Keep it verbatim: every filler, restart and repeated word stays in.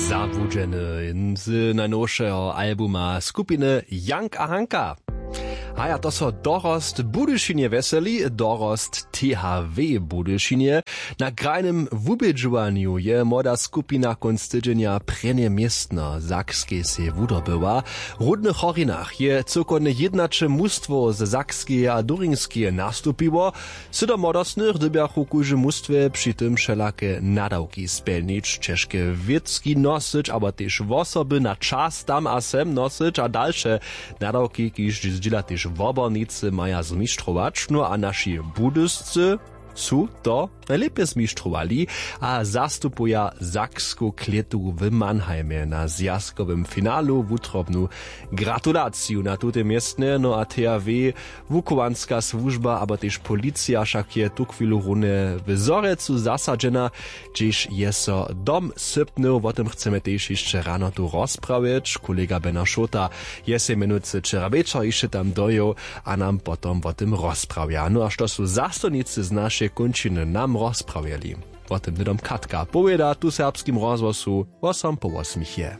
Zabłudźeny z najnowšeho albuma skupiny Jank a Hanka. Haja, to so dorost w Budyšinje wjeseli, dorost T H W w Budyšinje. Na krajnym wubědźowanju je młoda skupina kónc tydźenja prěnje městno w Sakskej sej wudobyła. W Rudnych Horinach je cyłkowne jědnaće mustwow ze Sakskeje a Duringskeje nastupiło. Sydom młodostnych dyrbjachu w kóždym mustwje při tym wšelake nadawki spjelnić, ćežke wěcki nosyć abo tež wosoby na čas tam a sem nosyć a dalše nadawki, kiž zdźěla tež wobornicy, maja zmištrować. No a naši Budyscy su to najlěpje zmištrowali a zastupuja saksku klětu w Mannheimje na zwjazkowym finalu. Wutrobnu gratulaciju na tutej městnje. No a T H W, wuchowanska słužba abo tež policija wšak je tuchwilu runje w Zhorjelcu zasadźena, hdźež je so dom sypnył. Wo tym chcemy tež hišće rano tu rozprawjeć. Kolega Bena Šołta je sej mjenujcy wčera wječor hišće tam dojěł a nam potom wo tym rozprawja. No a što su zastupnicy z našeje kónčiny nam rozprawjeli, wo tym hnydom Katka powěda tu w Serbskim rozhłosu wosompołosmichje.